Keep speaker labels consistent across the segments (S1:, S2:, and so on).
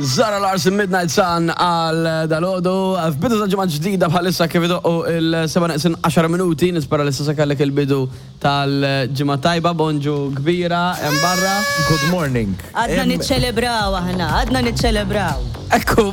S1: Zara Larson Midnight Sun għal dalodu. F'bidu ta' ġimgħa ġdida bħalissa kif idoqqu il-7 neqsin 10 minuti, nispera li s'issa kellek il-bidu tal-ġimgħa tajba, bonġu kbira hemm barra.
S2: Good morning.
S3: Għadna niċċelebraw aħna, għadna niċċelebraw.
S1: Ekku,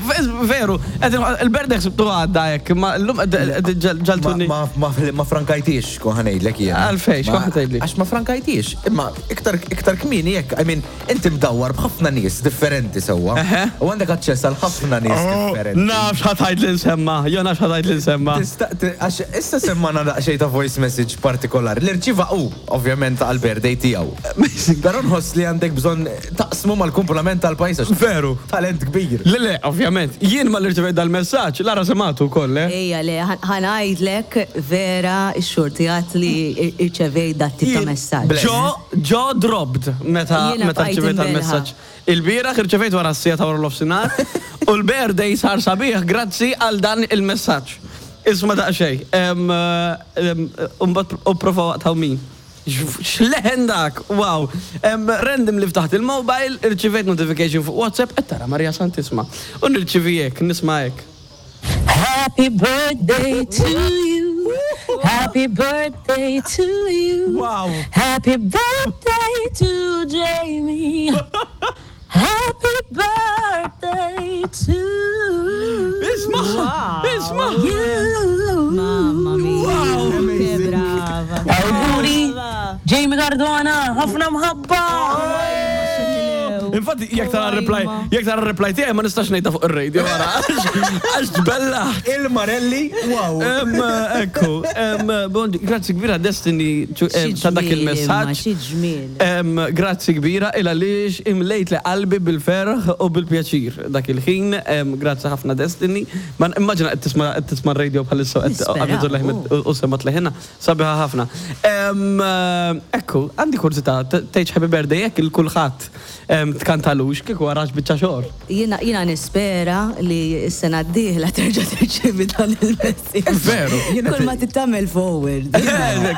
S1: veru, il-birthday ħsibtu għadda hekk, imma llum ġaltuni.
S2: Ma frankajtix, kont ħa ngħidlek jiena.
S1: Għalfejn, x'kont ħa tgħidli?
S2: Għax ma frankajtix, imma iktar kmieni hekk, I mean, Inti mdawwar b'ħafna nies differenti sewwa. U għandek aċċess għal ħafna nies differenti.
S1: Naf x'ħa tgħid li nsemma', jo naf x'ħa tgħid li nsemma'.
S2: Tista' għax issa semmagħna daqsxejn ta' voice message partikolari li rċieva hu, ovvjament għall-birthday tiegħu. Però nħoss li għandek bżonn taqsmu mal-kumplament tal-pajjiż għax.
S1: Veru.
S2: Talent kbir.
S1: Le le, ovvjament. Jien malli rċevejt dal-messaġġ, Lara semgħatu wkoll, eh?
S3: Ejja le, ħa ngħidlek vera x-xurtijat li rċevejt dat-tip ta' messaġġ.
S1: Ġo Jaw dropped meta meta rċevejt dal-messaġġ. Ilbieraħ irċevejt wara s-siegħa ta' wara nofsinhar u l-birthday sar sabiħ grazzi għal dan il-messaġġ. Isma' daqsxejn. U mbagħad u pprova waqtha min. X'leħen dak! Wow! Randomly ftaħt il-mobile, irċivejt notification fuq WhatsApp, qed tara Maria Santissma. U nirċievi hekk, nisma' hekk.
S3: Happy birthday to you Happy birthday to you
S1: Wow.
S3: Happy birthday to Jamie Happy birthday to
S1: Isma! Isma!
S3: you Mamma mia
S1: Wow.
S3: Che brava
S4: Awguri Jamie Cardona, ħafna mħabba!
S1: Infatti, jekk tara reply, jekk tara reply tiegħi ma nistax ngħidha fuq ir-radio wara. Għax tbella.
S2: Il-Marelli, wow.
S1: Ekku, grazzi kbira Destiny ta' dak il-messaġġ.
S3: Xi ġmiel.
S1: Grazzi kbira il għaliex imlejt li qalbi bil-ferħ u bil-pjaċir dak il-ħin. Grazzi ħafna Destiny. Ma immaġina qed tisma' qed tisma' r-radio bħalissa qed u semgħet leħinha. Sabiħa ħafna. Ekku, għandi kurżità, tgħidx happy birthday hekk il kulħadd tkantalux kieku għarax biċċa xogħol.
S3: Jiena jiena nispera li s-sena d-dieħla terġa' tirċievi dan il-messaġġ.
S1: Veru.
S3: Kull ma trid tagħmel forward.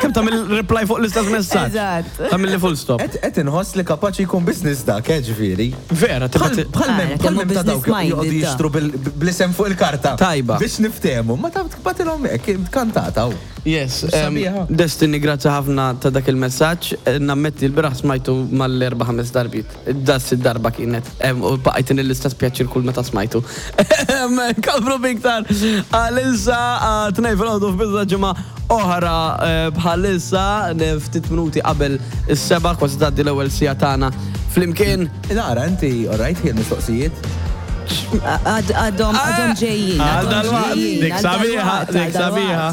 S1: Kemm tagħmel reply fuq l-istess messaġġ.
S3: Eżatt.
S1: Tagħmilli full stop.
S2: Qed inħoss li kapaċi jkun business dak, eh, ġifieri.
S1: Vera,
S2: tibgħat. Bħal
S3: Kemm hu
S2: mem ta' dawk
S3: business minded
S2: joqogħdu
S3: da.
S2: jixtru bl-isem fuq il-karta.
S1: Tajba.
S2: Biex niftehmu, ma taf tbatilhom hekk, kantata hu.
S1: Yes, Destiny grazzi ħafna ta' dak il-messaġġ. Nammetti l-bieraħ smajtu mal-erba' ħames darbiet. Da s-sitt darba kienet. U baqajt l-istess pjaċir kull meta smajtu. Nkomplu b'iktar għalissa tnejn filgħodu f'bidu ta' ġimgħa oħra bħalissa ftit minuti qabel is-sebgħa kważi tgħaddi l-ewwel siegħa tagħna flimkien.
S2: Lara, inti alright hi l-mistoqsijiet?
S3: Għadhom għadhom ġejjin.
S1: Għal dalwaqt, dik sabiħa, dik sabiħa.